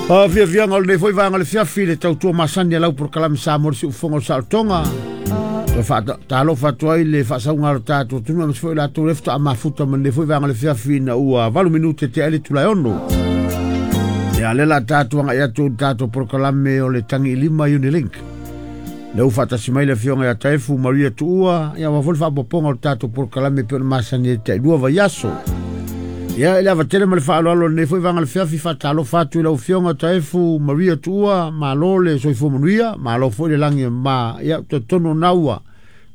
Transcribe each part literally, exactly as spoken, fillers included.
Fiafiaga o lenei foi vaega o le fiafi le tautua masani a lau polokalame Samoa le Siufofoga o le Saolotoga. Toe faatalofa atu ai le faasauga o le tatou atunuu aemaise foi latou lea faatoa mafuta ma lenei foi vaega o le fiafi ina ua valu minute tea ai le itula e ono. Ia lea la tatou agai atu i le tatou polokalame o le Tagiilima Unilink. Lea ua faatasi mai le afioga ia Taefu Maria Tuua, ia aua foi le faaopoopoga o le tatou polokalame pei ona masani ai tailua vaiaso. Ia, i le ava tele ma le faaaloalo o lenei foi vaega o le fiafi, faatalofa atu i lau afioga Taefu Maria Tuua, malo le soifua manuia, malo foi le lagi e mama. Ia, talitonu na ua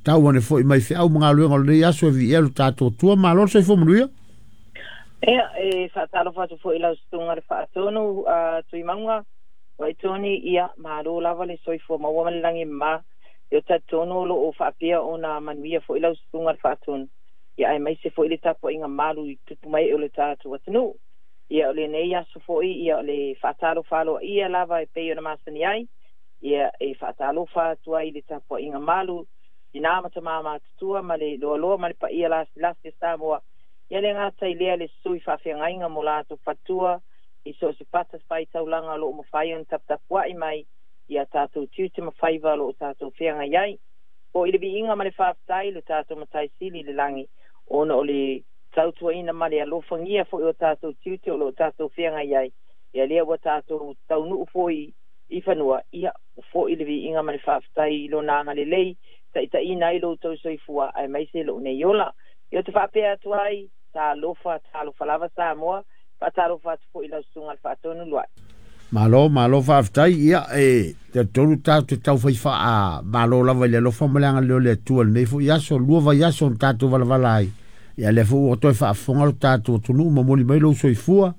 tau ane foi mai feau ma galuega o lenei aso e viia lo tatou Atua, malo le soifua manuia. Ia, e faatalofa atu foi i lau susuga le Faatonu uh, Tuimauga Waitoni, ia, malo lava le soifua maua ma le lagi e mama. Ia talitonu o loo faapea ona manuia foi lau susuga le Faatonu. Ia aemaise foi le tapuaiga malu i tupu mai o le tatou atunuu. Ia o lenei aso foi, ia o le faatalofa aloaia lava e pei ona masani ai. Ia e faatalofa atu ai le tapuaiga malu tina ma tama matutua ma le loaloa ma le paia lasilasi o Samoa. Ia le gata i lea le sui faafeagaiga mo latou fatua i so o se fata faitaulaga o loo mafai ona taputapuai mai ia tatou tiute ma faiva o loo tatou feagai ai. O i le viiga ma le faafetai le tatou Matai Sili i le lagi ona o le tautuaina ma le alofagia foi o tatou tiute o loo tatou feagai ai. Ia lea ua tatou taunuu foi i fanua, ia foi le viiga ma le faafetai i lona agalelei taitaiina ai lo outou soifua aemaise lou nei ola. Ia te faapea atu ai, talofa, talofa lava Samoa, faatalofa atu foi i lau susuga le Faatonu Luai. Malo, malo faafetai. Ia e talitonu tatou te taufai faamalo lava i le alofa ma le agalelei o le Atua i lenei foi aso, lua vaiaso na tatou valavala ai. Ia lea foi ua toe faafofoga lo tatou atunuu ma momoli mai lou soifua.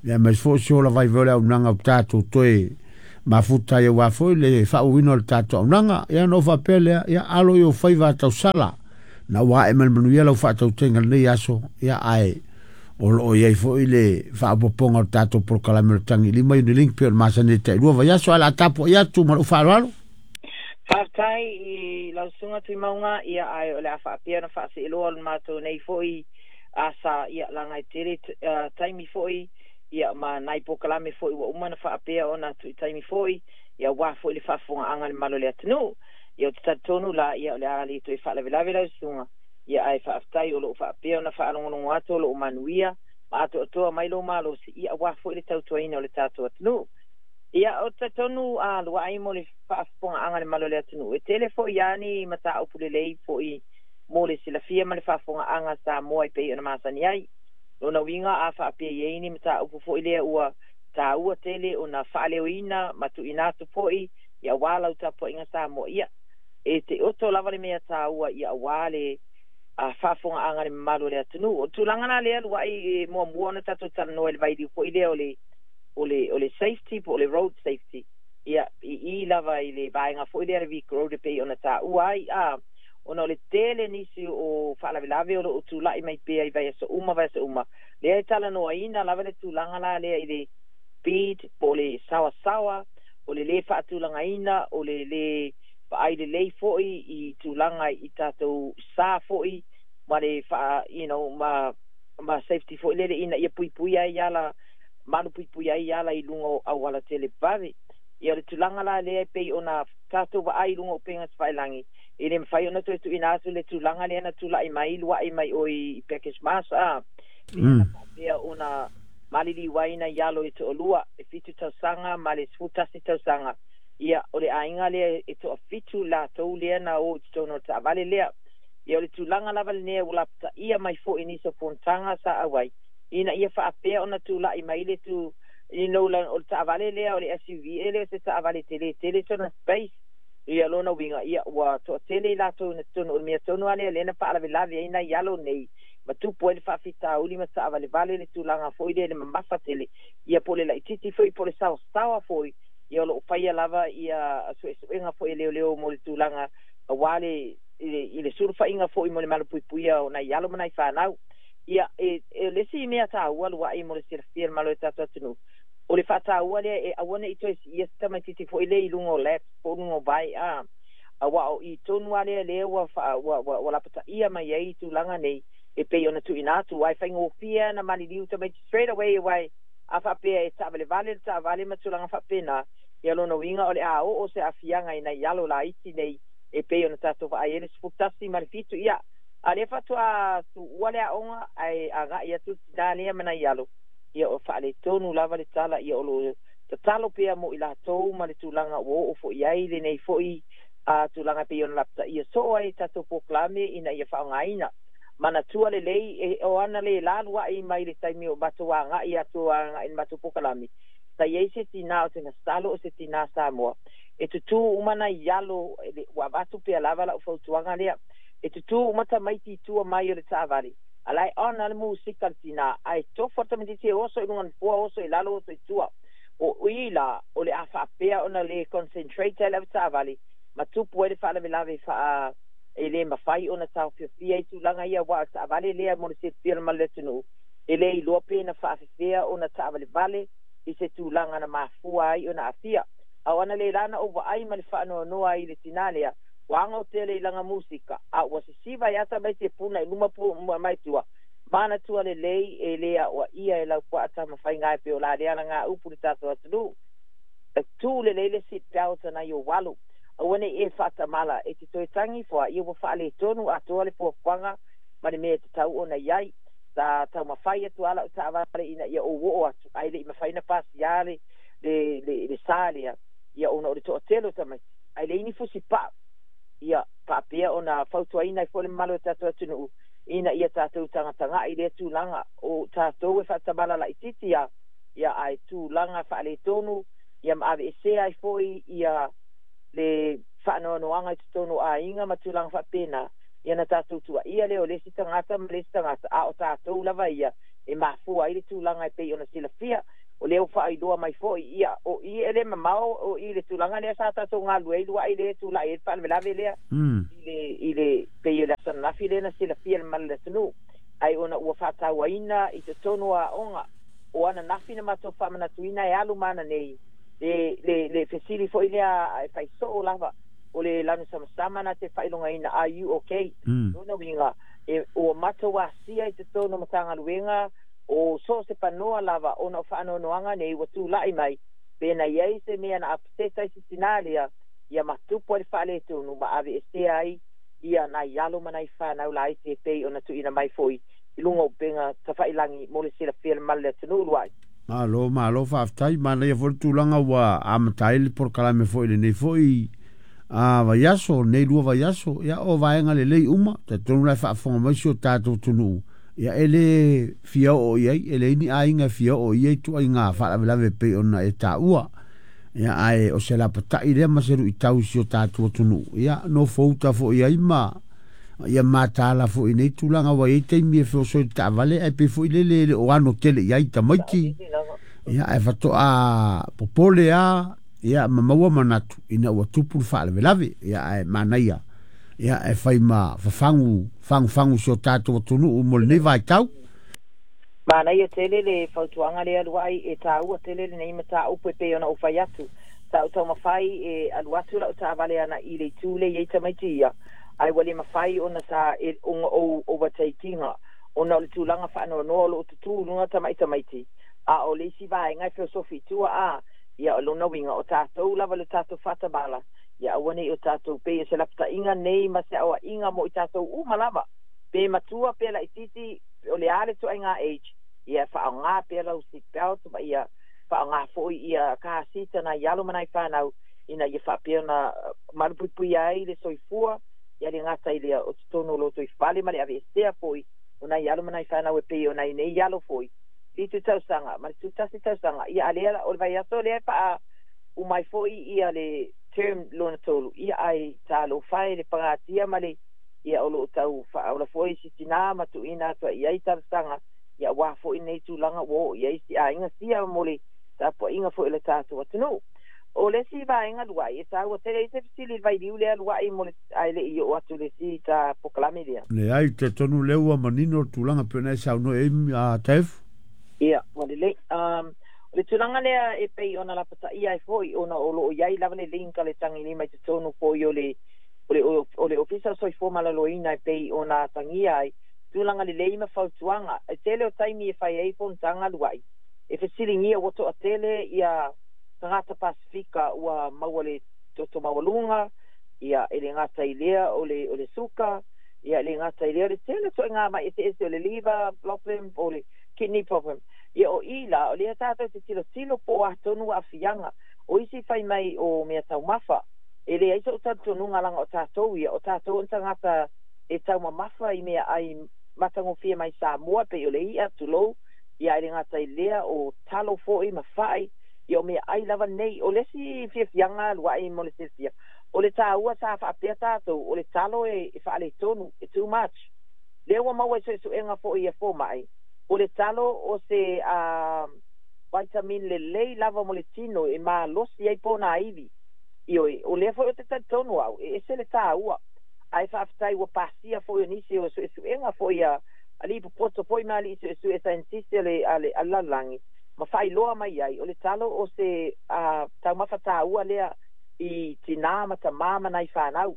Ia aemaise foi o se ola vaivai o le auaunaga o tatou toe mafuta ai aua foi le faaauauina o le tatou auaunaga. Ia ona ou faapea lea, ia alo i ou faiva tausala na ua ae ma le manuia lau faatautaiga i lenei aso. Ia ae o loo i ai foi le faaopoopoga o le tatou polokalame o le Tagiilima Unilink pei o le masani ai tailua vaiaso, ae o le a tapuai atu ma lou faaaloalo. Faafetai i lau susuga Tuimauga, ia ae o le a faapea ona faaseeloa o le matou nei foi asa, ia laga e tele uh, taimi foi, ia ma nai polokalame foi ua uma ona faapea ona tu'i taimi foi, ia aua foi le faafofogaaga a le mamalu o le atunuu. Ia ou te talitonu la, ia o le a le toe faalavelave lau susuga, ia ae faafetai o loo faapea ona faalogologo atu o loo manuia ma atoatoa mai lou malosi, ia aua foi le tautuaina o le tatou atunuu. Ia o te talitonu a luai mo le faafofogaaga a le mamalu o le atunuu, e tele foi lava ni mataupu lelei foi mo le silafia ma le faafofogaaga Samoa e pei ona masani ai. Lona uiga a faapea i ai ni mataupu foi lea ua taua tele ona faaleoina ma tuuina atu foi, ia aua lau tapuaiga Samoa, ia e te oto lava le mea taua, ia aua le a faafofogaaga a le mamalu o le atunuu. O tulaga la lea luai e muamua ona tatou talanoa i le vailiu foi lea o le o le o le safety po o le road safety. Ia i i lava i le vaega foi lea le vehicle road e pei ona taua ai a ona o le tele nisi o faalavelave o loo tulai mai pea i vaiaso uma vaiaso uma lea e talanoaina lava le tulaga la lea i le speed po o le saoasaoa o le lē faatulagaina o le lē vaai lelei foi i tulaga i tatou sa foi ma le faa you know ma ma safety foi lele ina ia puipui ai ala malu puipui ai ala i luga o auala televave. Ia o le tulaga la lea e pei ona tatou vaai i luga o upega tafailagi, e le mafai ona toe tuuina atu le tulaga lea na tula'i mai lua'i mai oi i package mas a lea na faapea ona maliliu ai nai alo e to'alua e fitu tausaga ma le sefulu tasi tausaga. Ia o le aiga lea e toafitu latou lea na o i totonu o le taavale lea. Ia o le tulaga lava lenei ua lapataia mai foi nisi o fonotaga sa auai ina ia faapea ona tula'i mai le tu you know o le taavale lea o le S U V, e le o se taavale tele tele sona space. Ia lona uiga ia ua toatele i latou na totonu o le mea tonu a lea lea na faalavelave ai nai alo nei ma tupu ai le faafitauli ma taavalevale le tulaga foi lea le mamafa tele, ia po o le laitiiti foi po o le saoasaoa foi. Ia o loo faia lava ia suesuega foi e leoleo mo le tulaga aua le i le sulufaiga foi mo le malupuipuia o nai alo ma nai fanau. Ia e, e le isi mea taua luai mo le silafia le malo e tatou atunuu o le faataua lea e aua nei toe siia se tamaititi foi lea i luga o laps po o luga o vai a auā o i tonu a lea lea ua, ua, ua, ua lapataia mai ai tulaga nei e pei ona tuuina atu ai faigofie na maliliu tamaiti straight away e uae A faapea e taavalevale le taavale ma tulaga faapena, ia lona uiga o le a oo se aafiaga ina i alo laiti nei e pei ona tatou vaai ai le sefulu tasi ma le fitu. Ia a lea faatoa tuua le aoga ae agai atu le tinā lea ma nai alo, ia o faaletonu lava le tala. Ia o loo tatalo pea mo i latou ma le tulaga ua oo foi ai lenei foi a tulaga pei ona lapataia soo ai tatou polokalame ina ia faaaogaina manatua lelei e o ana le lalua'i mai le taimi o matou aga'i atu aga'i le matou polokalame. Sa iai se tinā o Tegasalo o se tinā Samoa e tutū uma nai alo, ua avatu pea lava la'u fautuaga lea, e tutū uma tamaiti i tua mai o le taavale alae ona le musika le tinā ae tofo le tamaititi e oso i luga nofoa, oso i lalo, oso i tua. O i la o le a faapea ona le concentrate ai le avetaavale ma tupu ai le faalavelave faa e lē mafai ona taofiofia i tulaga ia ua o taavale lea mo le silafia ma le atunuu e lē iloa pe na faafefea ona taavalevale i se tulaga na mafua ai ona aafia. A o ana le lana ou vaai ma le faanoanoa ai i le tinā lea ua ago tele i laga musika a ua sisiva ai ata mai te puna i luma pu mai tua manatua lelei e lē aʻoaʻia e laupuaa tamafaiga e pei o la lea lagā upu le tatou atunuu e tū lelei le seat belt nai ou alo aua nei e faatamala e te toe tagi foa ia ua faaletonu atoa le fuafuaga ma le mea e tatau ona iai. Sa taumafai atu ala o taavale ina ia ou oo atu ae leʻi mafai na pasiā le le le, le sa lea ia ona o le toatele o tamaiti ae leai ni fusi paa. Ia faapea ona fautuaina ai foi le mamalu o tatou atunuu ina ia tatou tagatagaʻi lea tulaga o tatou e faatamala laʻititi a ia ae tulaga faaletonu ia ma aveesea ai foi ia le faanoanoaga i totonu o aiga ma tulaga faapena. Ia na tatou tuaia lea o le isi tagata ma le isi tagata a o tatou lava ia e mafua ai le tulaga e pei ona silafia o lea ua faailoa mai foi. Ia o i e le mamao o i le tulaga lea sa tatou galue ai luaʻi le tulaʻi ai le faalavelave lea i le i le pei o le aso ananafi lea na silafia le mamalu o le atunuu ai ona ua faatauaina i totonu o aoga o ananafi na matou faamanatuina e alu ma ana nei le le le fesili foi lea e faisoo lava o le lanu samasama na te faailogaina are you okay? Lona uiga e ua matou asia i totonu o Matagaluega o so o se panoa lava ona o faanoanoaga nei ua tulaʻi mai pe na iai se mea na apaseta i se tinā lea ia matupu ai le faaletonu ma aveesea ai ia nai alo ma nai fanau laiti e pei ona tuuina mai foi i luga o upega tafailagi mo le silafia le mamalu o le atunuu luaʻi. Malo, malo faafetai. Manaia foi le tulaga ua amata ai le polokalame foi lenei foi a vaiaso, nei lua vaiaso. Ia o vaega lelei uma, talitonu la e faafofoga mai si o tatou atunuu, ia e lē fia oo i ai, e leai ni aiga e fia oo i ai tuaiga faalavelave pei ona e taua. Ia ae o se lapataʻi lea ma se luʻitau i si o tatou atunuu, ia nofouta foi ai ma ia matala foi nei tulaga ua iai taimi e feoso i le taavale ae pei foi lele e le o ano tele i ai tamaiti. Ia ae faatoa popole a ia ma maua manatu ina ua tupu le faalavelave. Ia ae manaia ia e fai ma fafagu fagufagu si o tatou atunuu mo lenei vaitau. Manaia tele le fautuaga lea luaʻi e taua tele lenei mataupu e pei ona ou fai atu sa ou taumafai e alu atu la'u taavale ana i le itu le iai tamaiti ia ae ua le mafai ona sa e ona ou overtaking ona o le tulaga faanoanoa o loo tutū luga tamaʻi tamaiti a o le isi vaega e feosofi i tua a ia o lona uiga o tatou lava le tatou faatamala ia aua nei o tatou pei o se lapataʻiga nei ma se aoaʻiga mo i tatou uma lava pe matua pe laʻititi o le a le toaiga age ia faaaogā pea lau seat belt ma ia faaaogā foi ia car seat nai alo ma nai fanau ina ia faapea ona malupuipuia ai le soifua ia le gata i lea o totonu o lotoifale ma le aveesea foi o nai alo ma nai fanau e pei o nai nei alo foi fitu tausaga ma le tutasi tausaga. Ia a lea o le vaiaso lea faa umai foi ia le term lona tolu ia ai talofa e le pagatia ma le ia o loo tau faaola foi si tinā ma tuuina atu ai ai talosaga ia ua foi nei tulaga ua oo i ai si aiga sia mo le tapuaiga foi o le tatou atunuu. O le isi vaega luaʻi e taua tele ai se fesili i le vailiu lea luaʻi mo le ae leʻi oo atu le isi ta polokalame lea. Leai, talitonu lea ua manino le tulaga pei ona e saunoa i ai a Taefu. Ia ua lelei. um O le tulaga lea e pei ona lapataia ai foi ona o loo iai lava le link a le tagilima i totonu foi o le o le o le Ofisa o Soifua Maloloina e pei ona atagia ai tulaga lelei ma fautuaga e tele o taimi e fai ai fonotaga luaʻi E fesiligia ua toʻatele ia tagata Pasifika ua maua le toto maualuga ia e le gata i lea o le o le suka ia e le gata i lea o le tele toʻaiga mai eseese o le liver problem o le kidney problem ia o i la o lea tatou te tilotilo po o atonu aafiaga o isi fai mai o mea taumafa e leai soʻu talitonuga laga o tatou ia o tatou ona tagata e taumamafa i mea ai matagofie mai Samoa pei o le iʻa tulou ia e le gata i lea o talo foʻi ma faʻi ia o mea ai lava nei o le isi fiafiaga luaʻi mo le silafia o le tāua sa faapea tatou o le talo e, e faaletonu e too much lea ua maua i suesuega foʻi ia fomaʻi o le talo o se uh, vitamin lelei lava mo le tino e malosi ai pona ivi ioe o lea foʻi o te talitonu au e ese le tāua ae faafetai ua pasia foʻi o nisi o suesuega foʻi a alii popoto foʻi ma alii suesue scientist le ale alalagi ma faailoa mai ai o le talo o se uh, taumafa tāua lea i tinā ma tamā ma nai fanau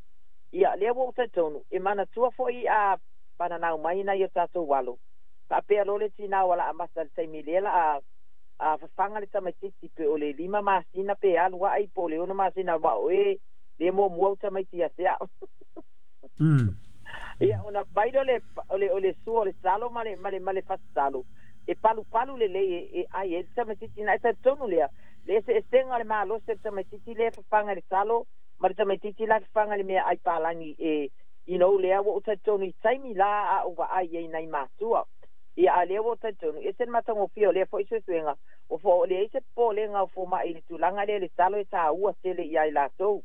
ia lea ua ou talitonu e manatua foʻi a pananau mai nai o tatou alo faapea lo le tinā ua laa mata le taimi lea la a a fafaga le tamaititi pe o le lima masina pe alu aʻi po o le ono masina ma o e le muamua u tamaiti ia te a'o mm. ia ona mai lea o le o le o le sua o le talo ma le ma le ma le fasitalo e palupalu lelei e, e ai e le tamaititi na e talitonu lea le eseesega o le malosi o le tamaititi lea e fafaga i le talo ma le tamaititi la e fafaga i le mea ai palagi e you know lea ua ou talitonu i taimi la a ou vaai ai nai matua ia a lea ua ou talitonu ese le matagofie o lea foʻi suesuega o fo o leai se popolega o fomaʻi i le tulaga lea le talo e tāua tele ia i latou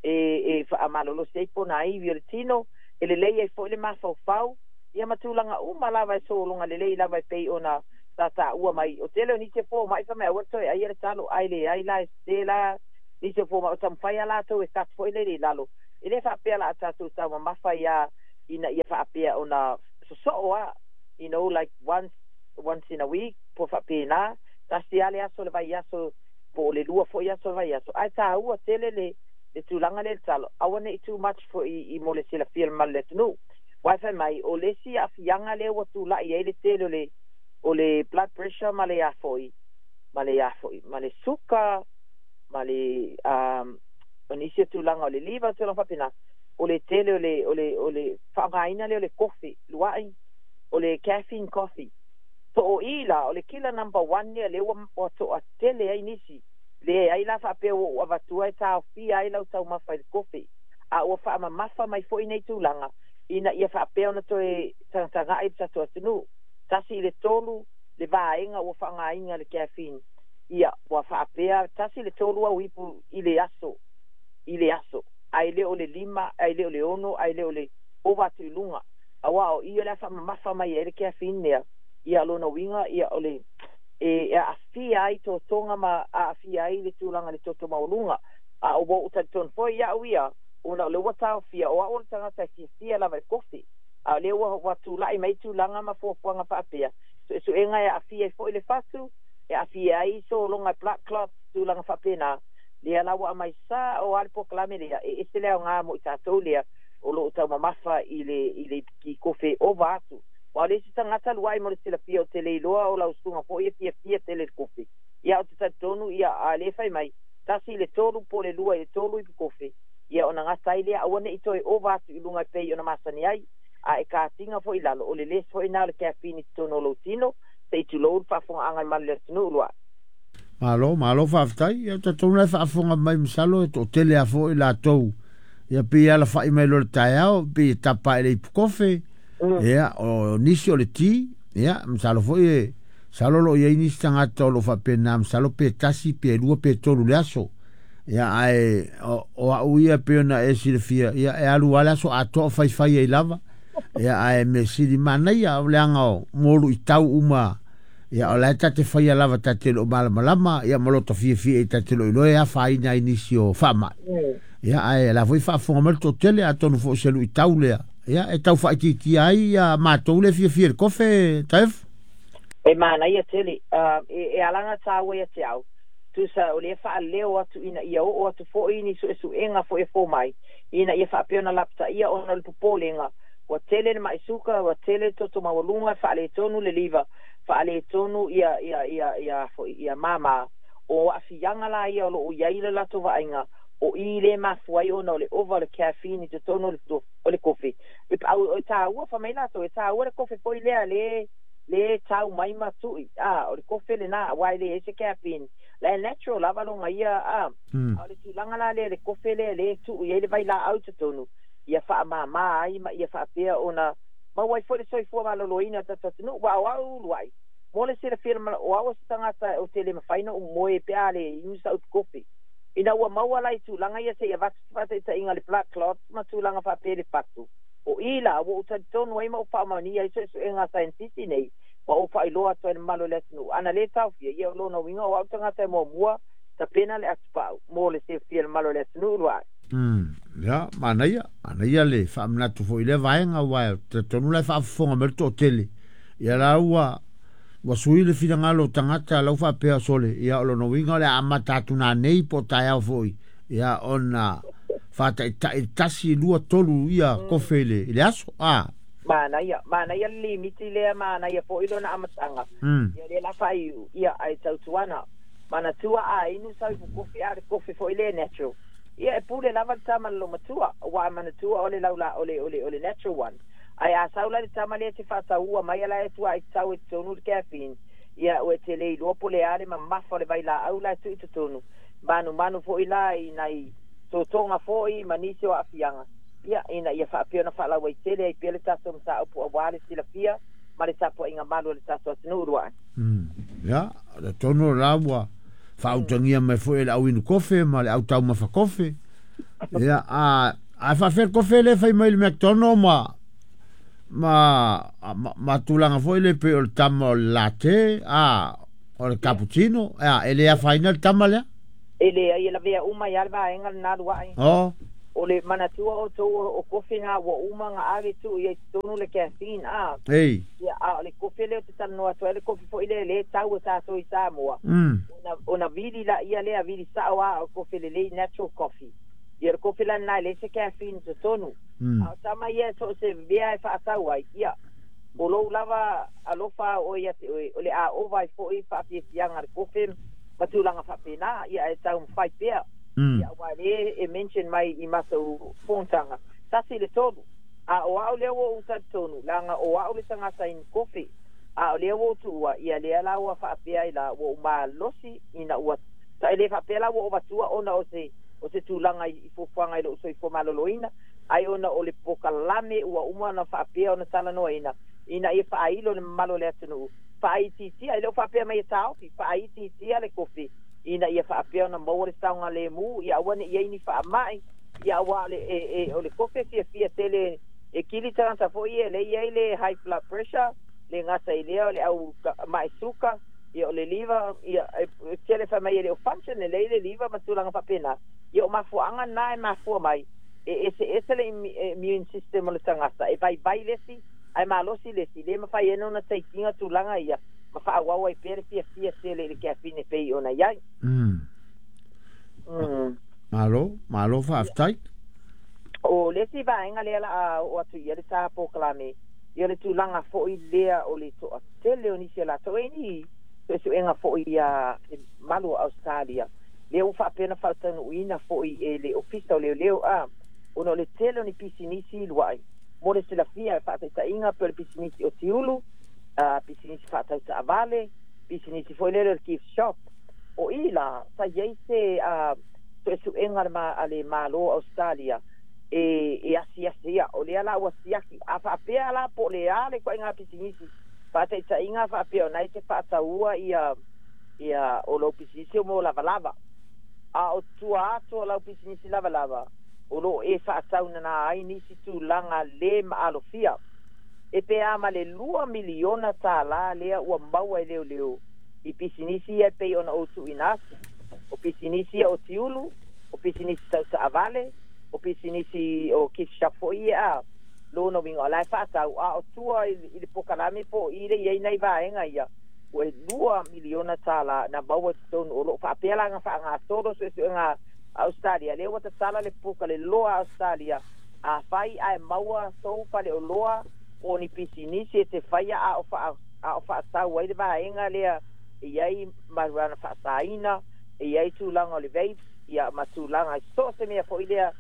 e e faamalolosi ai pona ivi o le tino e lelei ai foʻi le mafaufau ia ma tulaga uma lava e sologa lelei lava e pei ona tataua mai o tele o nisi e fomaʻi fa mai aua le toe aia le talo ai leai la e sese la nisi o fomaʻi o taumafai a latou e kat foʻi le i lalo e lē faapea la a tatou taumamafa ia ina ia faapea ona sosoo a you know like once once in a week po faapena tasi a le aso le vai aso po o le lua foʻi aso le vai aso ae tāua tele le le tulaga le le talo aua neʻi too much foʻi i mo le silafia le malu le atunuu wifi mai o le isi aafiaga lea ua tulaʻi ai le tele o le o le blood pressure ma le afoʻi ma le afoʻi ma le suka ma le um o nisi o tulaga o le liver tulaga faapena o le tele o le o le o le faaaogaina lea o le kofe luaʻi o le caffeine coffee po o i la o le killer number one lea lea ua ua toʻatele ai nisi le ai la faapea ua ou avatua e taofia ai lau taumafa i le kofe a ua faamamafa mai foʻi nei tulaga ina ia faapea ona toe tagatagaʻi le tatou atunuu tasi i le tolu le vaega ua faaaogaina le caffeine ia ua faapea tasi le tolu au ipu i le aso i le aso ae le o le lima ae le o le ono ae le o le ova atu i luga auā o ia le a faamamafa mai ai le caffeine lea ia lona uiga ia o le e e aafia ai totoga ma aafia ai le tulaga le toto maualuga a o ua ou talitonu foi iaʻu ia ona o le ua taofia o aʻu o le tagata e fiafia lava i kofi a o lea ua ua tulaʻi mai tulaga ma fuafuaga faapea suesuega e aafia ai foʻi le fatu e aafia ai sologa e blood clot tulaga faapena lea la ua aumai sa o a le polokalame lea e ese le aogā mo i tatou lea o loo taumamafa i le i le i kofe ova atu ua le isi tagata luaʻi mo le silafia o te le iloa o lausuga foʻi e fiafia tele le kofe ia o te talitonu ia a le fai mai tasi i le tolu po le lua i le tolu ipu kofe ia ona gata ai lea aua neʻi toe ova atu i luga e pei ona masani ai a e katiga foʻi lalo o le lesi foʻi na o le caffeine i totonu o lou tino seʻi tulou le faafogaaga i malu le atunuu luaʻi. Malo, malo faafetai. Ia tatou la e faafofoga mai masalo e toatele a foʻi latou. Ia pei ala fai mai lo le taeao, pei e tapa e le ipu kofe. Ia, o nisi o le ti. Ia, masalo foi e salo lo iai nisi tagata o lo faapena masalo pe tasi, pe lua, pe tolu le aso. Ia, ae o, o au ia pe ona e silafia, ia e alu ale aso atoa faifai ai lava. Ia, ae me sili manaia o leaga o molu i tau uma. Ia o la e tate faia lava tate lo malamalama, ia ma lo fiafia i tate lo iloa e afaina ai nisi o faamai. Ia ae la foi faafofoga mai le toatele atonu foi se luitau lea. Ia e tau faaitiitia ai ia matou le fiafia i le kofe Taefu. E manaia tele uh, e, e alaga tāua ia te au tusa o lea faaleo atu ina ia oo atu foʻi ni suesuega foʻi e fō mai ina ia faapea ona lapataia ona o le popolega Ua tele le maʻi suka, ua tele toto maualuga, faaletonu le liver, faaletonu ia ia ia ia foʻi ia māmā. O aafiaga la ia o loo iai le latou vaaiga o i le mafua ai ona o le ova o le caffeine i totonu o le kofe. E au e tāua fa mai latou e tāua le kofe foi lea le le tau mai ma tui a o le kofe lenā auā e le ese caffeine la e natural lava loga ia a. Mm. A o le tulaga la lea le kofe lea le tuu i ai le vailaau totonu ia faamāmā ai ma ia faapea ona maua ai foi le soifua maloloina o tatou atunuu. Ua auau uluai mo le silafia o au o se tagata o te le mafai na ou moe pe a le inu sa'u kofe ina ua maua la i tulaga ia seia avatu se faataitaiga le blood clot ma tulaga faapea le fatu o i la ua ou talitonu ai ma ou faamaonia ai suesuega a saienitisi nei ma ou faailoa atu ai le mamalu o le atunuu ana lē taofia ia o lona uiga o au tagata e muamua tapena le atupa'u mo le silafia le mamalu o le atunuu lua'i. Mm. Ya, manaia, manaia le faamanatu foi le vaega ua tonu la faafofoga mai le toatele. Ia la ua ua sui le finagalo o tagata lau faapea sole ia o lona uiga o le amata atu nanei po o taeao foi ia ona faataitai tasi lua tolu ia kofe i le i le aso a. Manaia, manaia le limiti lea, manaia foʻi lona amataga. Mm. Ia lea la faaiu ia ae tautuana manatua a inu sau ifukofi a le kofe foʻi lea natural ia e pule lava le tama le lomatua ua manatua o le laula o le o le o le natural one ae a sau la le tama lea te faataua mai ala e tua i tau e totonu le caffeine ia ua te le iloa po le a le mamafa o le vailaau la e tuu i totonu manumanu foʻi la i nai totoga foʻi ma nisi o aafiaga ia ina ia faapea ona faalauaitele ai pea le tatou mataupu auā le silafia ma le tapuaiga malu o le tatou atunuu luaʻe. Mm. Ya, le tonu la ua faautagia mai foi e le au inu kofe ma le au taumafa kofe. Ia, a a faafea le kofe le fai mai le McDonald ma ma ma, ma tulaga foi le pe o le tama o le latte a o le cappuccino a e le afaina le tama lea. E leai e lavea uma ia le vaega lenā luaʻe. Oh. O le manatua o tou o kofe gā ua uma ga ave tuu i ai totonu le caffeine a. Ei. Ia a o le kofe lea o te talanoa atu ai le kofe foʻi lea lē tau e tatou i Samoa. Mm. Ona ona vili la ia lea vili sa'o a o kofe lelei natural coffee. Ia le kofe lana e leai se caffeine totonu. Mm. A o tama ia so o se mea e faatau ai ia o lou lava alofa o ia te oe o le a ova ai foʻi faafiafiaga le kofe ma tulaga faapena ia e taumafai pea. Mm. Ia ua lē e mention mai i matou fonotaga tasi le tolu a o a'u lea ua ou talitonu laga o a'u le tagata inu kofe a o lea ua ou tuua ia lea la ua faapea ai la ua ou malosi ina ua e lē faapea la ua ou vatua ona o se o se tulaga i fuafuaga i lou soifua maloloina ai ona o le pokalame ua uma ona faapea ona talanoaina ina ia faailo le mamalu o le atunuu faaitiitia e le o faapea mai e taofi faaitiitia le kofe ina ia faapea ona maua le saogalemu ia aua ne i ai ni faamaʻi ia auā le e, e, o le kofe fiafia tele e kili tagata foʻi e lei ai le high blood pressure le gata i lea o le au maʻi suka ia o le liver ia e tele fai mai e le o function lelei le liver ma tulaga faapena ia o mafuaaga na e mafua mai e ese ese le immune system o le tagata e vaivai lesi ae malosi lesi le mafai ai ona taikiga tulaga ia ma faaauau ai pea le fiafia tele i le caffeine e pei ona iai. Mm. mm. Malo, malo faafetai. O le isi vaega lea la a oo atu ia le tā pokalame ia le tulaga foʻi lea o le toatele o nisi o latou e ni suesuega foʻi ia le malu o Australia lea ua faapea faataunuuina foʻi e le ofisa o leoleo a ona o le tele o ni pisinisi luaʻi mo le silafia e faataitaiga pe o le pisinisi o tiulu uh, pisinisi faatautaavale pisinisi foi lele o le gift shop o i la sa iai se uh, suesuega le ma, a le mālō Australia e, e asiasi ia o lea la ua siaki a faapea la po o le a le koaiga pisinisi faataitaiga faapea ona e te faataua ia ia o lou pisinisi o mo lavalava a o tua atu o lau pisinisi lavalava o loo e faataunana ai nisi tulaga lē maalofia e pe a ma le lua miliona tālā lea ua maua e leoleo i pisinisi ia e pei ona ou tuuina atu o pisinisi ia o tiulu o pisinisi tautaavale o pisinisi o gift shop foʻi ia a lona uiga o lae faatau a o tua i le pokalame po o i le iai nai vaega ia ua e lua miliona tālā na maua i totonu o loo faapea laga faagasolo suesuega Australia lea ua tatala le puka le loa Australia A fai ai maua sou fale o loa o ni pisinisi e te faia a o fa a o faatau ai le vaega lea e iai marijuana faasaina e iai tulaga o le vape ia ma tulaga so o se mea foʻi lea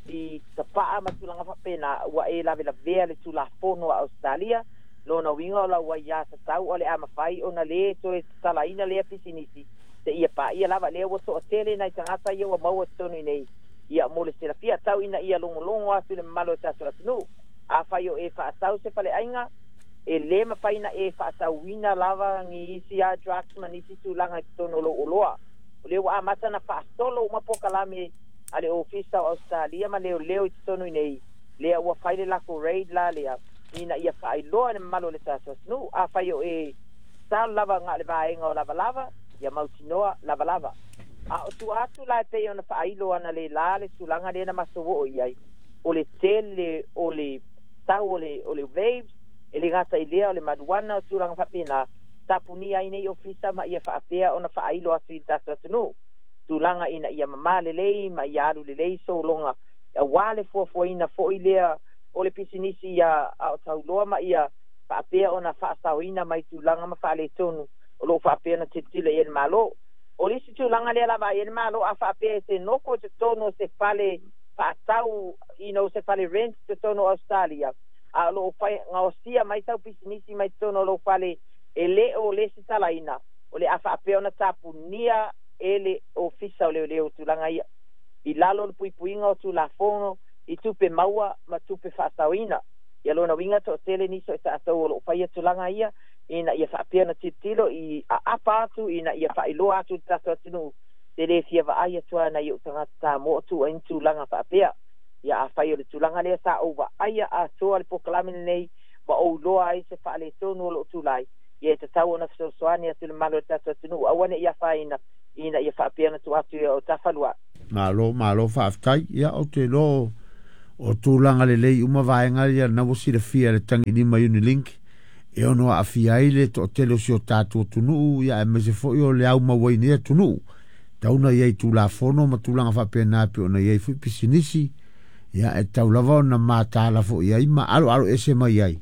i tapaa ma tulaga faapena ua e lavelavea le tulafono a Australia lona uiga o lau aiā tatau o le a mafai ona lē toe tatalaina lea pisinisi te ia paia lava lea ua toʻatele nai tagata ia ua maua totonu i ia mo le silafia tau ina ia logologo atu le mamalu o tatou atunuu afai o e faatau se faleaiga e lē mafai na e faatauina lava ni isi a drugs ma nisi tulaga i totonu o lou oloa o lea ua amata na faasolo uma pokalame a le ofisa o Australia ma leoleo i totonu i nei lea ua fai le lako raid la lea ina ia faailoa le mamalu o le tatou atunuu afai o e sal lava ga le vaega o lavalava ia mautinoa lavalava a o tua atu la e pei ona faailo ana le la le tulaga lea na maso oo i ai o le tele o le tau o le o le waves e le gata i lea o le marijuana o tulaga faapena tapunia ai nei ofisa ma ia faapea ona faailo atu i le tatou atunuu tulaga ina ia mamā lelei ma ia alu lelei sologa auā le fuafuaina foʻi lea o le pisinisi ia a o tauloa ma ia faapea ona faasaoina mai tulaga ma faaletonu o loo faapea ona tilotilo i ai le Malo o le isi tulaga lea lava ai le Malo a faapea e se nofo i totonu o se fale faatau you know, se fale rent totonu o Australia a o loo fai gaosia mai sau pisinisi mai totonu o lou fale e lē o le sitalaina o le a faapea ona tapunia e le ofisa o leoleo tulaga ia i lalo o le puipuiga o tulafono i tupe maua ma tupe faasaoina ia lona uiga toʻatele nisi o i tatou o loo faia tulaga ia ina ia faapea ona tilotilo i aapa atu ina ia faailoa atu le tatou atunuu te lē fia vaai atu ana i ou tagata Samoa o tuu ai ni tulaga faapea ia afai o le tulaga lea sa ou vaaia atoa le pokalame lenei ma ou iloa ai se faaletonu o loo tulai ia e tatau ona fesoasoani atu le malo o le tatou atunuu aua ne i afaina ina ia faapea ona tuu atu ia o tafaluaʻi. Malo malo faafetai ia o te iloa o tulaga lelei uma vaega ia na ua silafia le tagilima Unilink e ono aafia ai le toʻatele o si o tatou atunuu ia aemaise foʻi o le aumau ai nei atunuu tauna iai tulafono ma tulaga faapena pe ona iai foʻi pisinisi ia e tau lava ona matala foʻi ai ma aloalo ese mai ai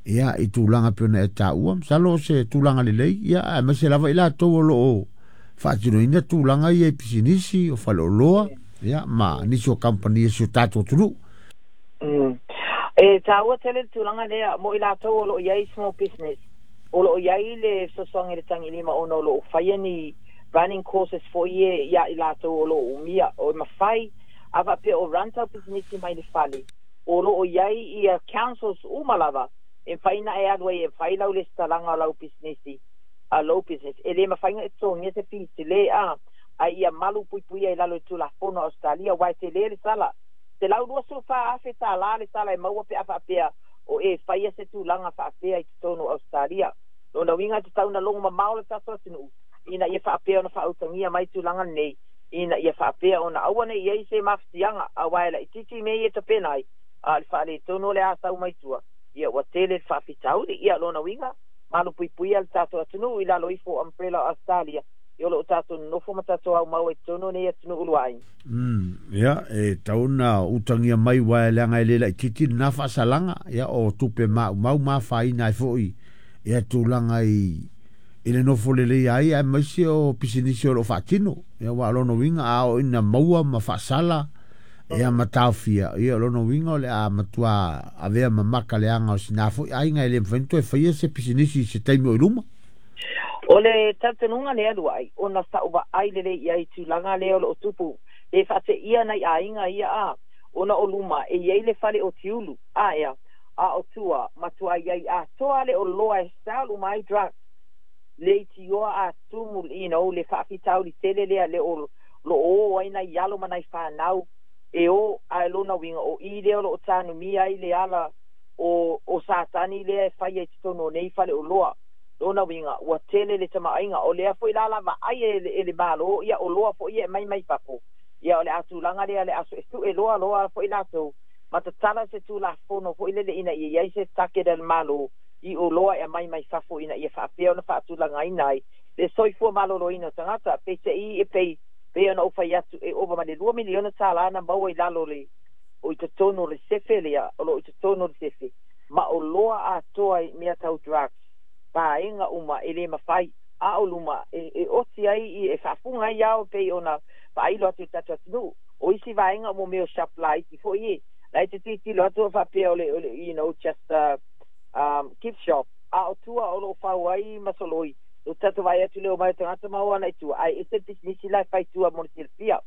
ia i tulaga pe ona e taua masalo o se tulaga lelei ia aemaise lava i latou o loo faatinoina tulaga ia i pisinisi o faleoloa ia ma nisi o kampani e si o tatou atunuu. Mm. E taua tele le tulaga lea mo i latou o loo iai small business o loo iai le fesoasoani le tagilima ona o loo faia ni running courses foʻi e ia i latou o loo umia o e mafai a faapea o run tau pisinisi mai le fale o loo iai ia councils uma lava e mafai e alu ai e fai lau lesitalaga o lau pisinisi a lou business e lē mafaiga e totogia se fees lē a ai ia malu puipuia i lalo i tulafono Australia uae telē le sala te lau lua sulu fa afe tālā le sala e maua pe a faapea o e faia se tulaga faapea i totonu o Australia lona uiga e tatau na logo mamao le tatou atunuu ina ia faapea ona faautagia mai tulaga lenei ina ia faapea ona aua nei iai se mafatiaga auā e laʻititi mea ia tapena ai a le faaletonu o le a sau mai tua ia ua tele le faafitauli ia lona uiga malu puipuia le tatou atunuu i lalo ifo umbrella o Australia i o loo tatou nonofo ma tatou aumau ai totonu nei atunuu uluai. Mm, ia e tauna utagia mai uae leaga e lē laʻititi lenā faasalaga ia o tupe maʻumau ma afaina ai foʻi ia tulaga i i le nofo lelei ai aemaise o pisinisi o loo faatino ia ua lona uiga a oo ina maua ma faasala ia ma taofia ia lona uiga o le a matua avea mamaka leaga o sinā foʻi aiga e lē mafai ona toe faia se pisinisi i se taimi o i luma. O le talitonuga lea luaʻi ona sa'u vaai lelei i ai tulaga lea o loo tupu e faateia nai aiga ia a ona o luma e iai le fale o tiulu a ea a o tua matua iai atoa le oloa e sell uma ai drug le itioa a tumu you know, le faafitauli tele lea le o loo o ai nai alo ma nai fanau e o ae lona uiga o i lea o loo tanumia ai le ala o o Satani lea e faia i totonu o nei fale oloa lona uiga ua tele le tamaaiga o lea foʻi la lavaai e, e le Malo ia oloa foʻi e mai mai fafo ia o le atulaga lea le aso e suʻe loa loa foʻi latou ma tatala se tulafono foʻi lele ina ia iai se target a le Malo i oloa e aumai mai fafo ina ia faapea ona faatulagaina ai le soifua maloloina o tagata peiseai e pei pei ona ou fai atu e ova ma le lua miliona tālā na maua i lalo le o i totonu o le sefe lea o loo i totonu o le sefe ma o loa atoa i mea tau drugs vaega uma e lē mafai a o luma e, e oti ai i e faafuga ai ao pei ona faailo atu i tatou atunuu o isi vaega o mo mea o shop laiti foʻi e la e te tilotilo atu faapea o le, o le you know just a um, gift shop a o tua o loo fau ai masoloi o tatou vaai atu le o mai o tagata ma o ana i tua ae ese le pisinisi la e fai tua mo le silafia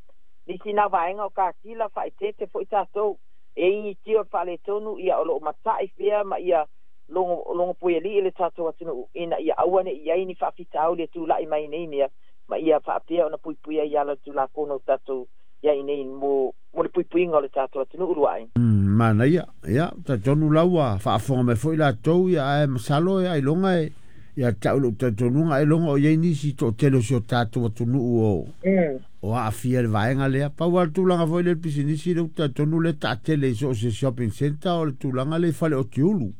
nisi na vaega o kakila faaeteete foʻi tatou e igitio le faaletonu ia o loo mataʻi pea ma ia logo logo puialii le tatou atunuu ina ia aua neʻi ai ni faafitauli e tulaʻi mai nei mea ma ia faapea ona puipuia ai ala o le tulafono o tatou ia inei mo mo le puipuiga o le tatou atunuu luaʻi. Mm, manaia ia talitonu la ua faafofoga mai foi latou ia ae masalo e ailoga e ia te au lou talitonuga ailoga o iai nisi toʻatele o si o tatou atunuu o mm. o aafia le vaega lea pau a le tulaga foi le pisinisi le ou talitonu le taatele i so o se shopping centre o le tulaga le i fale o tiulu.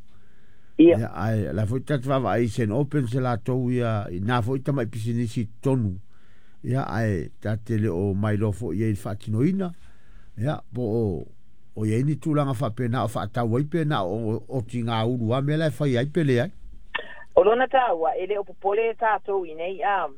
Ia Ia ae la foi tatou vaavaai i Saint Open se latou ia i na foi tamai pisinisi i totonu ia ae tate le o mailoa foi i ai le faatinoina ia po o o iai ni tulaga faapena o faatau ai pe na o otigaulu a mea la e fai ai pe leai. O lona taua e lē o popole tatou i nei a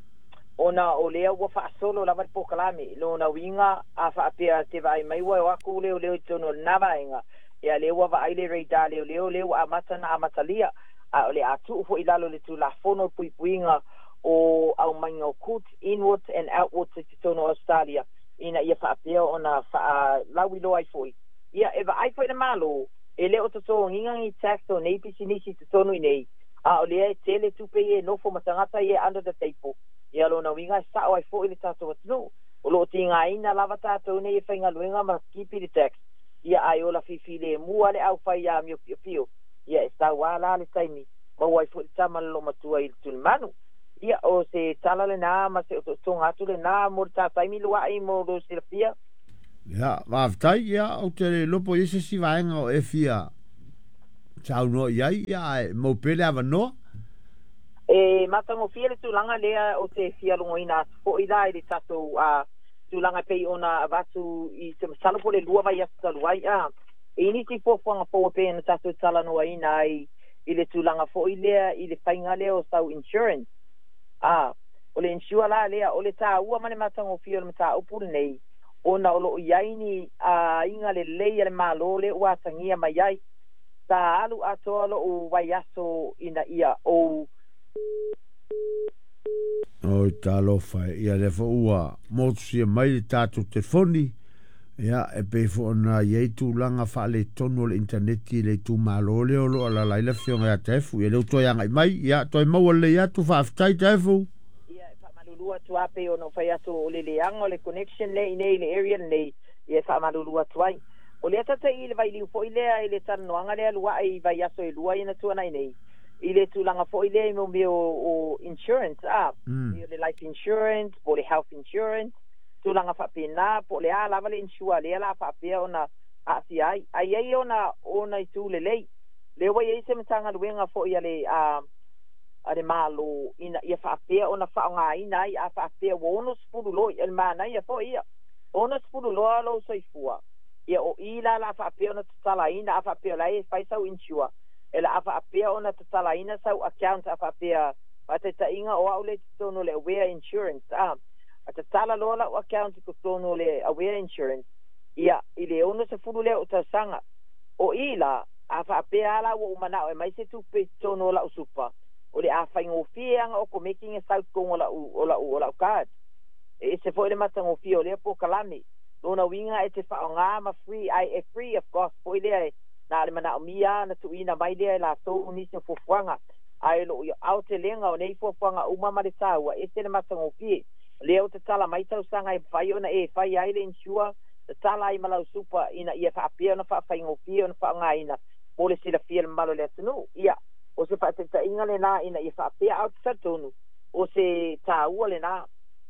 ona o lea ua faasolo lava le polokalame lona uiga a faapea te vaai mai ua o aku leoleo i totonu o lena vaega ia lea ua vaai le radar leoleo lea ua amata na amatalia a o le a tuu foʻi lalo le tulafono o puipuiga o aumaiga o goods inwards and outwards i totonu o Australia ina ia faapea ona faalauiloa ai foʻi ia e vaai foʻi le malo e lē o totogiga ni tax o nei pisinisi i totonu i nei a o lea e tele tupe ia e nofo ma tagata ia under the table ia lona uiga e saʻo ai foʻi le tatou atunuu o loo tigaina lava tatou nei e faigaluega ma kipi le tax ia ae ola fifilemu le aufai amio piopio ia e sauā la le taimi maua ai foʻi le tama le loomatua i le tulimanu ia o se tala lenā ma se otootoga atu lenā mo le tataimi luaʻi mo lo silafia. Ia faafetai ia ou te le iloa po o i ai se isi vaega o e fia saunoa i ai ia ae mau pea le avanoa. E matagofie le tulaga lea o te fia logoina atu foʻi la i le tatou a tulaga pei ona avatu i se masalo po le lua vaiaso talu ai a e nisi fuafuaga fou e pei ona tatou talanoaina ai i le tulaga foʻi lea i le faiga lea o sau insurance a o le insure la lea o le taua ma le matagofie o le mataupu lenei ona o loo iai ni aiga lelei a le Mālō le ua atagia mai ai sa alu atoa lou vaiaso ina ia ou Oi talofa e, ia lea foi ua motusia mai le tatou telefoni ia e pei foi ona i ai tulaga faaletonu o le initaneti i le itumalo lea o loo alaala ai le afioga ia Taefu. Ia lea ua toe agai mai ia toe maua lelei atu faafetai Taefu. Ia e faamalulu atu a pei ona ou fai atu o le leaga o le connection lea i nei i le area lenei ia e faamalulu atu ai. O lea tataʻi i le vailiu foʻi lea i le talanoaga lea luaʻi i vaiaso e lua ina tuanai nei i le tulaga foʻi lea i mo mea o, o insurance a Mm. o le life insurance po le health insurance tulaga faapena po o le a lava le insure lea la faapea ona aafia ai ai ai ona ona itu lelei lea ua iai se matagaluega foʻi a le a a le Mālō ina ia faapea ona faaaogāina ai a faapea ua ono sefulu loa le manaia foʻi ia ono sefulu loa lou soifua ia o i la la faapea ona tatalaina a faapea la e fai sau insure e la a faapea ona tatalaina sau account a faapea faataitaiga o au le totonu o le Aware Insurance a a tatala loa lau account i totonu o le Aware Insurance ia i le ono sefulu lea o tausaga o i la a faapea la ua umanao e mai se tupe i totonu o lau super o le a faigofie aga o komeki e sau totonu o lau o lau o lau card e ese foʻi le matagofie o lea polokalame lona uiga e te faaaogā ma free ai e free of cost foʻi lea e na le manaomia na tuuina mai lea e latou nisi o fuafuaga ae loo aotelega o nei fuafuaga uma ma le taua ese le matagofie lea o tatala mai tausaga e mafai ona e fai ai le insure tatala ai ma lau super ina ia faapea ona faafaigofie ona faaaogāina mo le silafia le mamalu o le atunuu ia o se faataitaiga lenā ina ia faapea ao te talitonu o se taua lenā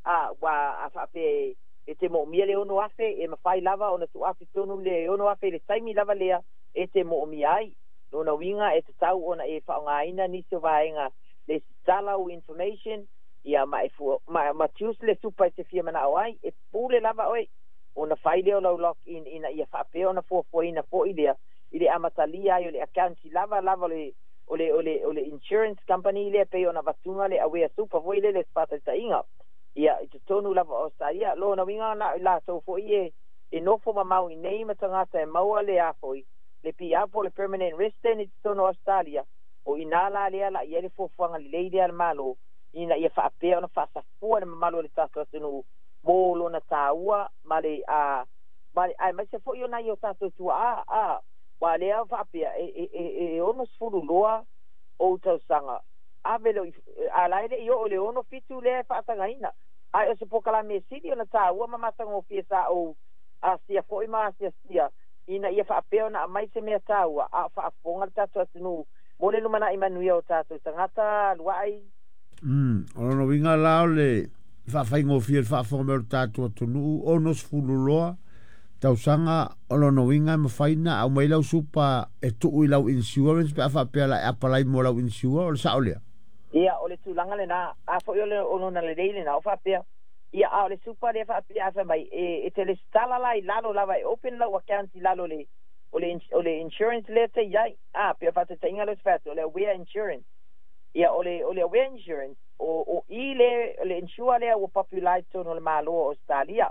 a ua a faapea e te moomia le ono afe e mafai lava ona tuuafe tonu le ono afe i le taimi lava lea e te moomia ai lona uiga e tatau ona e faaaogāina nisi o vaega le tala o information ia ma e fua ma, ma choose le super e te fia manao ai e pule lava oe Ona fai lea o lau login ina ia faapea ona fuafuaina fo'i lea i le amatalia ai o le account lava lava le o le o le o le insurance company lea pei ona avatuga le Aware Super foi lele faataitaiga ia i totonu lava o Australia. Lona uiga na o i latou fo'i e e nofo mamao i ma tagata e maua le a foi le P R po le permanent resident i totonu o Australia. O ina la lea la i ai le fuafuaga lelei lea a le Malo ina ia faapea ona faasafua le mamalu o le tatou atunuu mo lona tāua ma le a ma le aemaise foi o nai o tatou tuaa a ua lea faapea e e e e ono sefulu loa ou tausaga ave le a la e le i oo le ono fitu lea e faatagaina ae o se polokalame sili ona tāua ma matagofie sa ou asia foi ma asiasia ina ia faapea ona aumai se mea tāua a o faafofoga le tatou atunuu mo le lumanai manuia o tatou tagata lua'i. Mm, o lona uiga la o le faafaigofie le faafofoga mai o le tatou atunuu ono sefulu loa tausaga o lona uiga e mafai na aumai lau supa e tuu i lau insurance pe a faapea la e apalai mo lau insure o le sao lea. Ia o le tulaga lena a foi o le o lona lelei lena o faapea ia a o le super lea faapea a fai mai e, e te lesitala la i lalo lava e open lau account i lalo le o le, o le insurance lea te iai a pe faataitaiga lea se fai o le Aware Insurance. Ia o le o le Aware Insurance o o i le le insure lea ua popular i totonu o le Malo o Australia.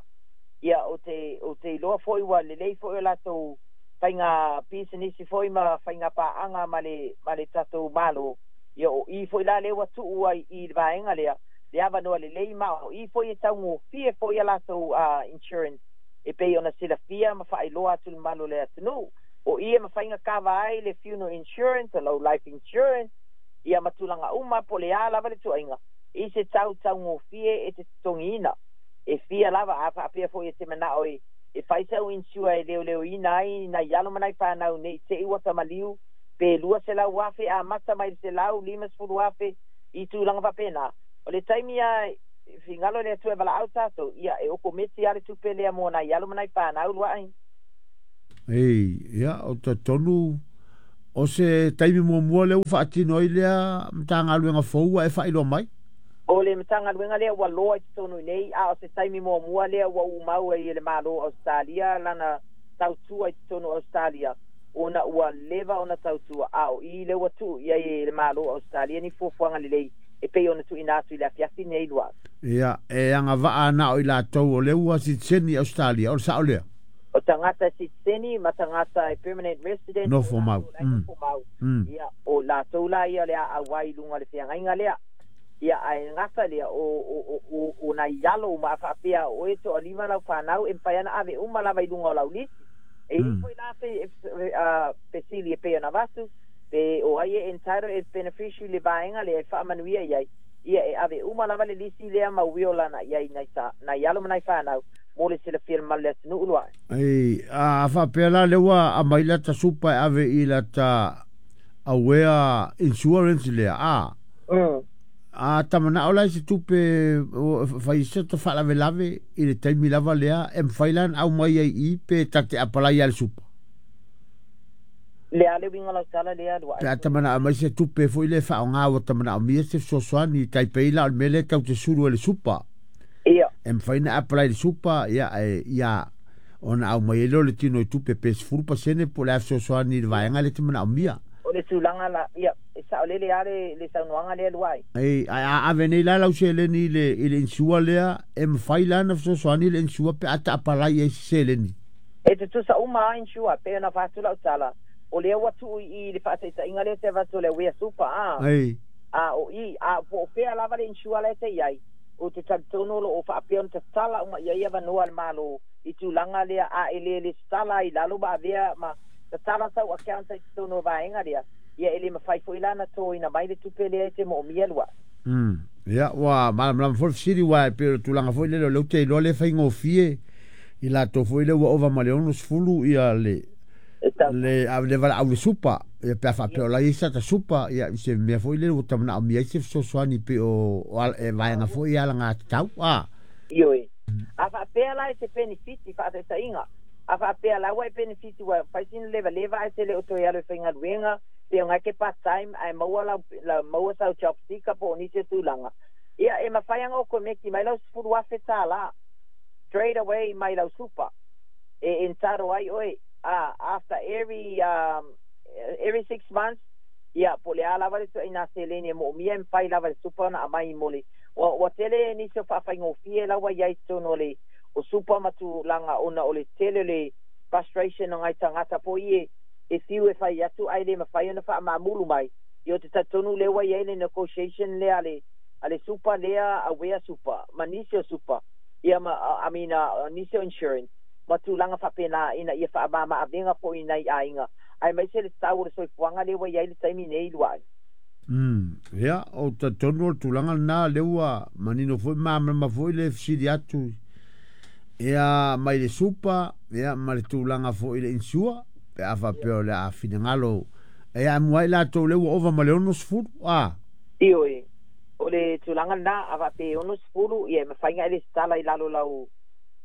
Ia o te o te iloa foi ua lelei foi o latou faiga pisinisi foi ma faiga paaga ma le ma le tatou Malo. Ia o i foi la lea ua tuu ai i le vaega lea le avanoa lelei ma o i foi e taugofie foi a latou uh, insurance e pei ona silafia ma faailoa atu le malo le atunuu o i e mafaiga kava ai le funeral insurance o lau life insurance ia ma tulaga uma po le a lava le tuaiga i se tau taugofie e te totogiina e fia lava a faapea foi e te manao e e fai sau insure e leoleoina ai nai alo ma nai fanau nei te i ua tamaliu pe lua selau afe a mata mai le selau lima sefulu afe i tulaga faapena o le taimi a figalo le Atua e valaau tatou ia e okometi a le tupe lea mo nai alo ma nai fanau lua'i. Ei, ia, o talitonu o se taimi muamua lea ua faatino ai lea Matagaluega fou ua e faailoa mai. O le Matagaluega lea ua loa i totonu i nei a o se taimi muamua lea ua umau ai e le Malo o Australia lana tautua i totonu o Australia ona ua leva ona tautua a o i le ua tuu i ai e le Malo o Australia ni fuafuaga lelei e pei ona tuuina atu i le afiafi nei lua. Ia, e agavaa na o i latou o lea ua sitiseni i Australia, o le sao lea. O tagata sitiseni ma tagata e permanent resident nofo mau. Mm. Nofo mau. Mm. Ia, o latou la ia le auai i luga o le feagaiga lea. Ia, ae gata lea o, o, o, o, o nai alo ma faapea o e toalima lau fanau e mafai ana ave uma lava i luga o lau lisi. E Mm. foi la fe, uh, fesili e pei ona avatu pe o ai e entitled e beneficiary le vaega lea e faamanuia i ai. Ia e ave uma lava le lisi lea ma uio lana i ai nai, ta, nai alo ma nai fanau mo le silafia le mamalu le atunuu lua. Ei, a faapea la lea ua aumai lata supa e ave i lata Aware Insurance lea, a. Mm. A tamanao la i se tupe o, fai se ta faalavelave i le taimi lava lea e mafai la ona aumai ai i pe ta te apalai a le supa. Le a le uiga lau tala lea lua. Pe a tamanao mai se tupe foi le faaaoga ua tamanaomia se fesoasoani tai pei la o le mea lea tau te sulu e le supa. Ia. E mafai na apply le supa ia e ia ona aumai ai lea o le tino i tupe pe sefulu pasene po o le a fesoasoani i le vaega lea te manaomia. O le tulaga la ia e saolele a le le saunoaga lea luai. Ei, ae a ave nei la lau seleni i le i le insure lea e mafai la ona fesoasoani le insure pe a ta apalai ai se seleni. E tutusa uma a insure pe ona fa'atu lau tala o lea ua tuu i le faataitaiga lea te avatu o le Aware Super a Ei. A o i a po o fea lava le insure lea te iai o te talitonu lo o faapea ona tatala uma ia ia avanoa le Malo i tulaga lea a e le lesitala i lalo ma avea ma tatala sau account ai totonu o vaega lea ia e le mafai foi la na toina mai le tupe lea e te moomia lua. Mm. Ia, ua malamalama foi le fesili ua e pei o le tulaga foi lele o lea ou te iloa le faigofie i latou foi lea ua ova ma le ono sefulu ia le E tau le a le valaau le supa ia pe a faapea o la i ai sata supa ia i se mea foi lele ua tamanaomia ai se fesoasoani pei o o ala- e vaega foi ia alagatatau a. Ioe. A faapea la e te penefiti faataitaiga. A faapea la ua e penefiti ua fai sina levaleva ae te le o toe alu e faigaluega pe o ke part time ae maua lau, la, maua sau job seeker po o nisi o tulaga. Ia e mafai aga o komeki mai lau sefulu afe tālā. straight away mai lau super e entitle ai oe uh, after every um, every six months ia po le a lava le tuaiga seleni e moomia e mafai lava le super ona aumai mo le ua ua tele nisi o faafaigofie la ua iai totonu o le o super ma tulaga ona o le tele o le frustration o nai tagata po i e e fiu e fai atu ae le mafai ona faamamulu mai ia o te talitonu lea ua iai le negotiation lea a le a le super lea Aware Super ma nisi o super ia ma I mean uh, nisi o insurance ma tulaga faapena ina ia faamamaavega foʻi nai aiga ae maise le tau o le soifuaga lea ua iai le taimi nei luaʻi. Mm, ia, o talitonu o le tulaga lena lea ua manino foi ma foi le fesili atu ia mai le super ia ma le tulaga foi le insure pe a faapea o le a finagalo e amuai latou le ua ova ma le ono sefulu a. Ioe, o le tulaga lena a faapea ono sefulu ia e mafaiga e lesitala i lalo lau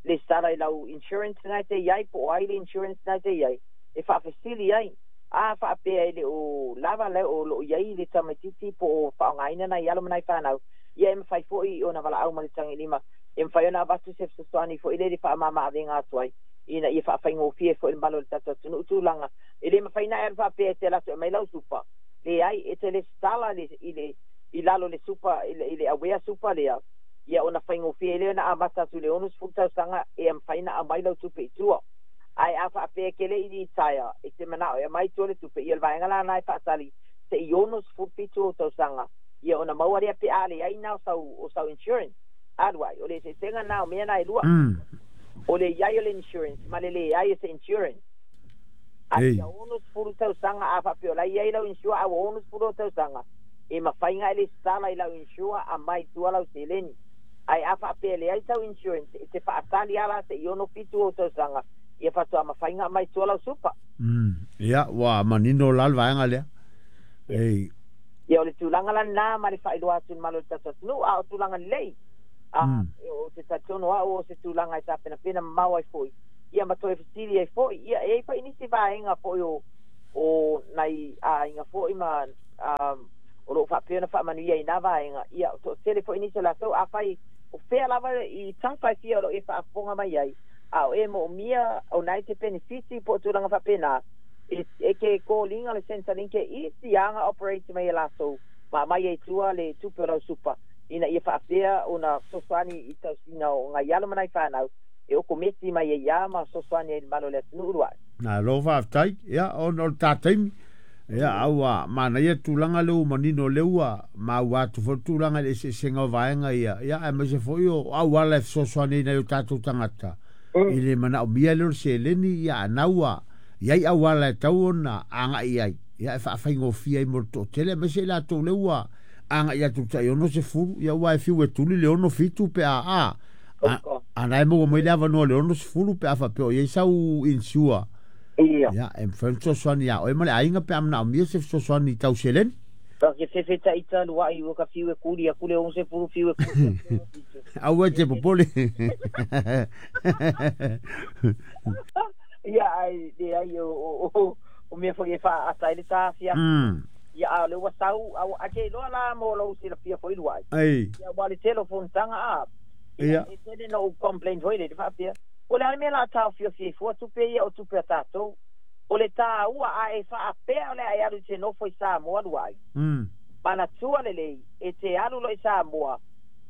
lesitala i lau insurance na e te iai po o ai le insurance na e te iai e faafesili ai a faapea e le o lava le o loo iai le tamaititi po o faaaogaina nai alo ma nai fanau ia e mafai foʻi ona valaau ma le tagilima e mafai ona avatu se fesoasoani foʻi le le faamamaavega atu ai ina ia faafaigofie foʻi le malo o le tatou atunuu tulaga e le mafai na e alu faapea e te alu atu e mai lau super leai e te lesitala le i le i lalo le super i le, i le Aware Super lea ia ona faigofie lea ona amata atu le ono sefulu tausaga e mafai na aumai lau tupe i tua ae a faapea ke le i retire e te manao e aumai tua le tupe ia le vaega lana e faatali se i ono sefulu fitu o tausaga ia ona maua lea pe a leai na o sau o sau insurance alu ai o le eseesega na o mea na e lua. Mm. O le iai o le insurance ma le leai o se insurance a Ei. ia ono sefulu tausaga a faapea o la iai lau insure a ua ono sefulu o tausaga e mafaiga e lesitala i lau insure aumai tua lau seleni ae a faapea leai sau insurance e te faatali ala se i ono fitu o tausaga ia faatoa mafaiga aumai tua lau super. Mm. Ia ua manino la le vaega lea. Ei. Ia o le tulaga lana ma le faailoa atu i le malo o le tatou atunuu a o tulaga lelei a Mm. o te talitonu au o se tulaga e tapenapena mamao ai foʻi ia ma toe fesili ai foʻi ia e ai foi nisi vaega foʻi o o nai aiga foʻi ma um, o loo faapea ona faamanuia i na vaega ia toatele foʻi nisi o latou afai o fea lava i tafa e fia o loo e faafofoga mai ai a o e moomia o nai te penefiti po o tulaga faapena e, e ke koliga le Centrelink e isi aga operate mai e latou ma mai ai tua le tupe o lau super ina ia faapea ona fesoasoani i tausiga o nai alo ma nai fanau e okometi mai ai ia ma fesoasoani ai le malo o le atunuu luaʻi. Na lo faafetai ia ona o le tataimi ia aua manaia tulaga lea ua manino lea ua maua atu foi tulaga i le eseesega o vaega ia ia aemaise foi o auala e fesoasoani ai nai o tatou tagata i le manaomia lea o le seleni ia ana ua iai auala e tau ona agai ai ia e faafaigofie ai mo le toatele aemaise i latou lea ua agai atu tai ono sefulu ia ua e fiu e tuli le ono fitu pe a a ana e maua mai le avanoa le ono sefulu pe a faapea o iai sau insure ia ia e mafai ona fesoasoani ia oe ma le aiga pe a manaomia se fesoasoani tau seleni. Ka ke fefe taita luaʻi ua ka fiu e kuli aku le ono sefulu fiu e kuli aku le ono fitu. Aua e te popole. Ia ai leai o o o o mea foi e faaata ai le tafia mm. ia a o le ua sau au ake iloa la mo lou silafia foi luaʻi Ei. ia ua le tele o fonotaga a ia Ia. e tele na ou complain foi le te faapea o le a le mea la taofiofia ai fua tupe ia o tupe a tatou o le tāua a e faapea o le a e alu i te nofo i Samoa luaʻi Mm. manatua lelei e te alu lo i Samoa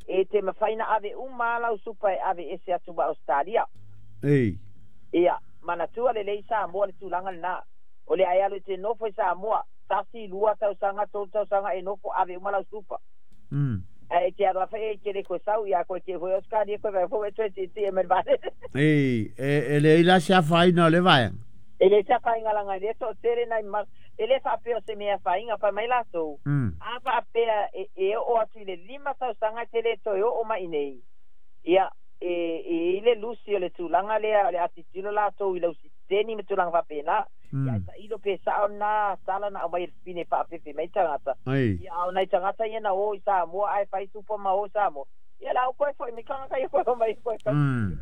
e te mafai na ave uma lau super e ave ese atu ma Australia. Ei. Ia manatua lelei Samoa le tulaga lena o le a e alu i te nofo i Samoa tasi lua tausaga tolu tausaga e nofo ave uma lau super Mm. ae e te alu afa e te le koe sau ia koe te foi Australia koe vai foi e toe tietie e mai le valele. Ei, e, e leai la se afaina o le vaega. E le se afaina laga i lea toatele nai ma e le faapea o se mea afaina fai mai latou Mm. a faapea e, e oo atu i le lima tausaga e te le toe oo mai nei ia e e i le lusi o le tulaga lea o le atitilo latou i lau siteni ma tulaga faapena ia e Mm. tailo pe sao na tala na aumai e le fine faafefe mai tagata Ei. ia a o nai tagata ia na o i Samoa ae fai super ma o i Samoa ia la o koe foi mai tagata ia koe o mai koe Mm.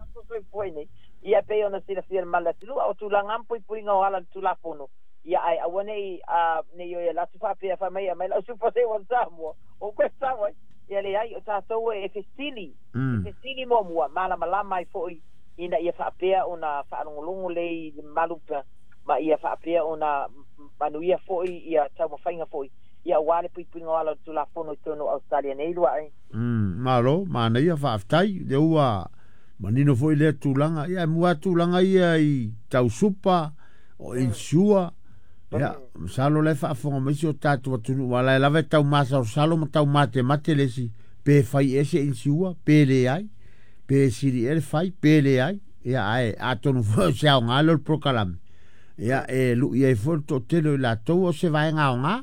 foi nei ia pei ona silafia le mala atunuu a o tulaga puipuiga o ala le tulafono ia ae aua nei a nei o ia latu faapea fai mai mai lau super se o Samoa o koe sau ai ia Ia leai o tatou e fesili, Mm. e fesili muamua malamalama ai foi ina ia faapea ona faalogologo lei le mamalu pa ma ia faapea ona manuia foi ia taumafaiga foi ia auā le puipuiga o ala o le Tulafono i totonu o Ausetalia nei luaʻi. Mm, malo, manaia, faafetai, lea ua manino foi lea tulaga. Ia, e mua tulaga ia i tau super, o insure, ia, masalo la e faafofoga mai si o tatou atunuu, aua la e lava e tau masalosalo ma tau matemate le isi, pe fai ea se insure, pe leai, pe sili ea le fai, pe leai, ia, ae atonu foi o se aoga lea o le polokalame, ia, e lui ai foi le toatele o i latou o se vaega aoga,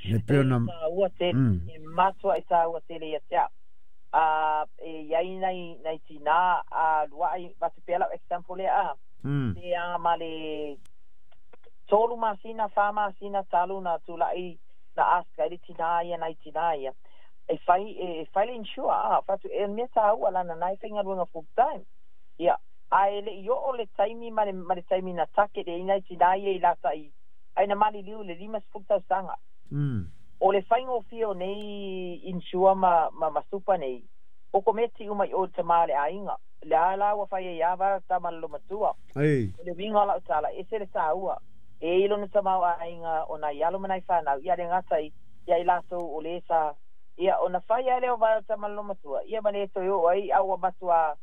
le pei ona. E taua tele, Mm. e matuai taua tele ia te au. A e iai nai nai tinā a luaʻi avatu pea lau example lea a. Mm. Pe aga ma le tolu masina, fa masina talu na tulaʻi na ask ai le tinā ia nai tinā ia. E fai e fai le insure a fatu e mea taua lana nai faigaluega full time. Ia ae leʻi oo le taimi ma le ma le taimi na take le nai tinā ia i lata i ai na maliliu le lima sefulu tausaga. Mm. O le faigofie o nei insure ma ma, ma super nei o kometi uma i o le tamā le aiga le a la ua fai ai ava tama le lomatua. Ei. O le uiga o lau tala ese le tāua e i lona tamao aiga o nai alo ma nai fanau ia le gata i ia i latou o lē sa ia ona fai ai lea o vae o tama le lomatua ia ma le toe oo ai a ua matua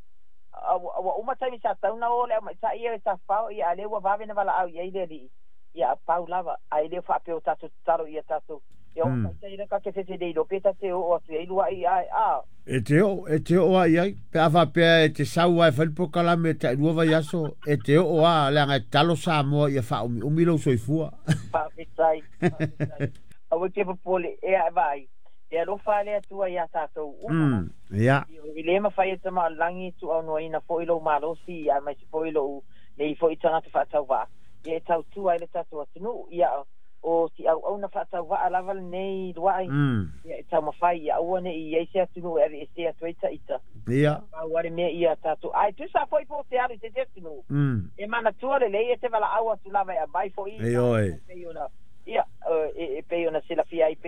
ua uma taimi sa tauna o le aumaitaʻi ia e tafafao ia a lea ua vave na valaau i ai le alii ia pau lava ae le faapea o tatou tatalo ia tatou ia o Mm. taitai le ka ke fefe nei lo pe tate oo atu ai luaʻi ae a. E te oo, e te oo a i ai, pe a faapea e te sau ai fai le polokalame taʻilua vaiaso, e te oo a leaga e tatalo Samoa ia faaumiumi lou soifua. Faafetai, faafetai, aua ke popole e ae vaai e alofa le Atua iā tatou uma. Mm. Ia. I le mafai e tama o le lagi tuuaunoaina foi lou malosi aemaise foi lou nei foi tagata faatauvaa ia e tautua ai le tatou atunuu ia o si auauna faatauvaa lava lenei luaʻi Mm. ia e taumafai ia aua neʻi ai se atunuu e aveesē atu ai taʻita. Ia. Pau ale mea ia tatou ae tusa foi po o te alu i se atunuu Mm. e manatua lelei e te valaau atu lava e aumai foi E oe. pei ona ia e e pei ona silafia ai pei.